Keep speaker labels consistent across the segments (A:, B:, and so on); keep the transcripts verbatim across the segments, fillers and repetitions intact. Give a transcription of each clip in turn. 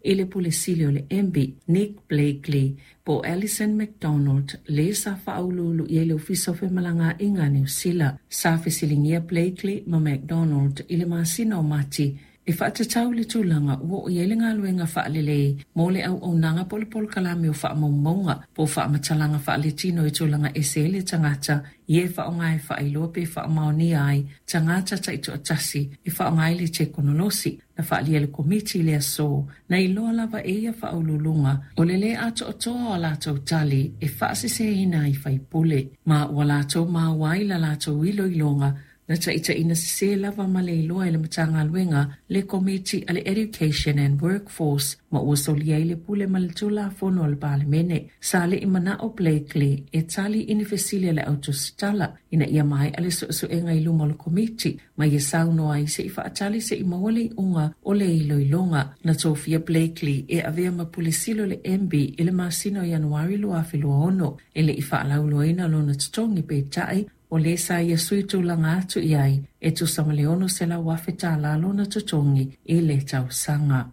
A: i le Pule Sili o le M B, Nick Blakely, po o Alison McDonald, le sa faauluulu i ai le Ofisa o Femalagaaiga a Niu Sila. Sa fesiligia Blakely ma McDonald i le masina o Mati e faatatau le tulaga ua oo i ai le galuega faalelei mo le auaunaga po o le polokalame o faamaumauga po o faamatalaga faaletino i tulaga ese ai le tagata ia e faaaoga e faailoa pe faamaonia ai tagata taitoatasi e faaaoga ai le tekonolosi. Na faaalia le komiti i le aso na iloa lava e ia faauluuluga o le lē atoatoa o a latou tali e faaseseina ai faipule, ma ua latou maua ai la latou iloiloga na taitaiina sesē lava ma le iloa e le Matagaluega le komiti a le Education and Workforce, ma ua solia ai le pule ma le tulafono a le Palemene. Sa le'i mana'o Blakely e tali i ni fesili a le autusitala ina ia mae'a le su'esu'ega i luma o le komiti ma ia saunoa ai se'i fa'atali se'i maua le i'uga o le iloiloga. Na tofia Blakely e avea ma Pule Sili o le M B i le masina o Ianuari twenty twenty-six. E le'i fa'alauiloaina lona totogi, peita'i o lē sa ia sui tulaga atu i ai e tusa ma le ono selau afe tālā lona totogi i le tausaga.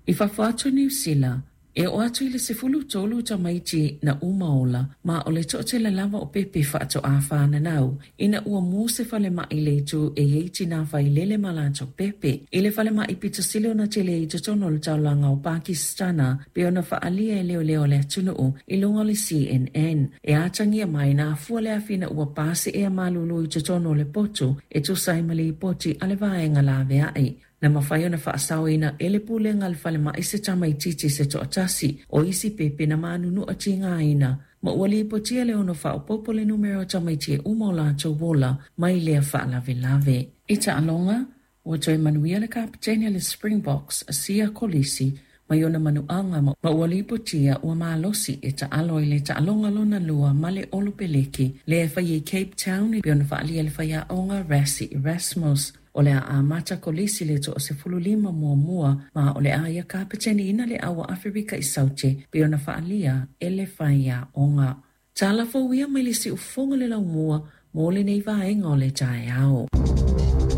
A: I fafo atu Niu Sila, e oo atu i le sefulu tolu tamaiti na uma ola, ma o le to'atele lava o pepe fa'ato'a fananau ina ua mu se falema'i le itu e iai tinā failele ma latou pepe i le falema'i pito sili ona tele i totonu o le taulaga o Pakistana, pe ona fa'alia e leoleo le atunu'u i luga o le C N N. E atagia mai na afua le afi ina ua pasi ea malulu i totonu o le potu, e tusa ai ma lipoti a le vaega lavea'i. Na mafai ona faasaoina e le pulega le falema'i se tamaititi se to'atasi. O isi pepe na manunu'a tigaina, ma ua lipotia le ono faaopoopo le numera o tamaiti e uma o latou ola mai lea faalavelave. I taaloga, ua toe manuia le kapeteni le Springboks Siya Kolisi mai ona manuaga, ma ua lipotia ua malosi e taalo i le taaloga lona lua ma le Olopeleki lea e fai i Cape Town, e pei ona faaalia le faiaoga Rassie Erasmus. O le a amata Kolisi le toa sefulu lima muamua, ma o le a ia kapeteni ina le aua Aferika i Saute, pe ona faaalia e le faiaoga. Tala fou ia mai le siufogo le laumua mo lenei vaega o le taeao.